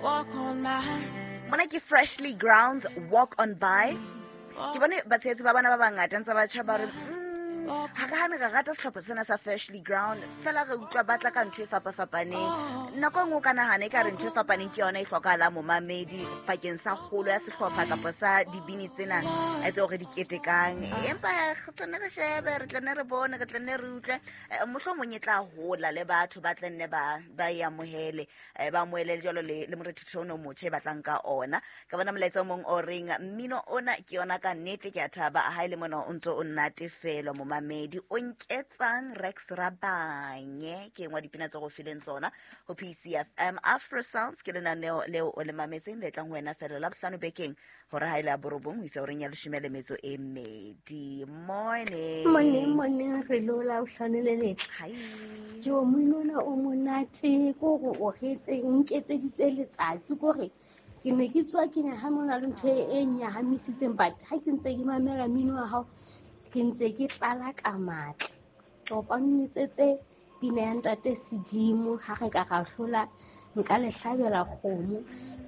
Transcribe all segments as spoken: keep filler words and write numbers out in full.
Walk on by. Mona ke Freshly Ground, Walk on By. Ke bone batshehetsi ba bana ba bangata ntse ba tjha ba re, mm, ha re hane re rata sehlopha sena sa Freshly Ground, fela re utlwa ba tla ka ntho e fapafapaneng. Nako e nngwe o ka nahana ekare ntho e fapaneng ke yona e hlokahalang momamedi bakeng sa kgolo ya sehlopha kapa sa dibini tsena tseo re di ketekang. Empa re tla nne re shebe, re tla nne re bone, re tla nne re utlwe. Eh, mohlomong e tla hola le batho ba tla nne ba, ba e amohele, eh, ba amohele jwalo le, le morethetho ono o motjha e batlang ka ona. Ka bona molaetsa o mong o reng, mmino ona ke yona ka nnete, ke a thaba ha e le mona o ntso o nnatefelwa momamedi. O nketsang Rex Rabanye ke engwe ya dipina tse go fileng tsona ho P C F M. Afro Sounds ke lenaneo leo o le mametseng le tlang ho wena fela la bohlano bekeng hore ha e le ya borobong ho isa horeng ya leshome le metso e mmedi. Morning. Morning, morning, re lo la bohlano le letle. Hi. Jo, mmino ona o monate, ke hore o re etse, nketseditse letsatsi, ke hore ke ne ke tswa ke nyahame, ho na le ntho e nyahamisitseng, but ha ke ntse ke mamela mmino wa hao, ke ntse ke tlala ka matla. Ke kopa o nletsetse pina ya Ntate Sedimo, ha re ka ra hlola, nka le hlabela kgomo.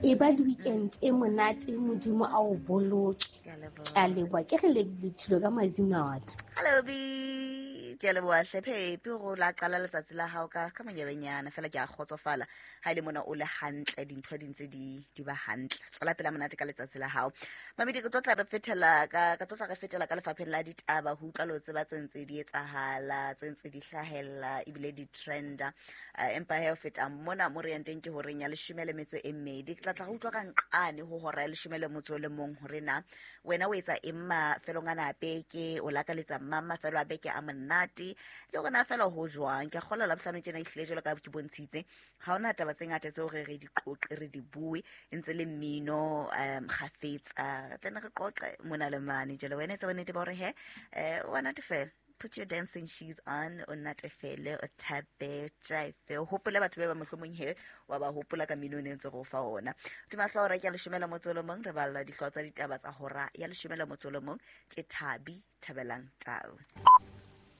E ba le weekend e monate, Modimo a o boloke. Ke a leboha. Ke a leboha. Ke re lebile Thilo ka Mazinate. Hello, B. Ke a leboha hle, Phepi, hore o la qala letsatsi la hao ka, ka manyebenyana. Feela ke a kgotsofala ha e le mona o le hantle, dintho di ntse di, di ba hantle. Tswela pele monate ka letsatsi la hao. Mamedi, ke tlo tla re fetela ka, ka tlo tla re fetela ka lefapheng la ditaba, ho utlwa le ho tseba tse ntse di etsahala, tse ntse di hlahella, ebile di trenda. Eh, empa he ho feta mona mo re yang teng ke horeng ya leshome le metso e mmedi. Ke tla tla re utlwa ka nqane ho hora ya leshome le motso o le mong hore na wena o etsa eng mafelong ana a beke, o lakaletsa mang mafelo a beke a monate, le hore na fela ho jwang. Ke a kgolwa Labohlano tjena ehlile jwalo ka ha ke bontshitse, ha hona taba tse ngata tseo re re di qoqe, re di bue, e ntse le mmino, um, kgafetsa. Re tla nne re qoqe mona le mane. Jwale wena etsa bonnete ba hore he, eh, wa natefela. Put your dancing shoes on, o natefele, o thabe, o jive, o hopole batho ba ba mohlomong he, wa ba hopola ka mmino o ne ntse re o fa ona. Hodima hlooho hora ke ya leshome le motso o le mong, re balla dihlooho tsa ditaba tsa hora ya leshome le motso o le mong. Ke Thabi Thabelang Tau.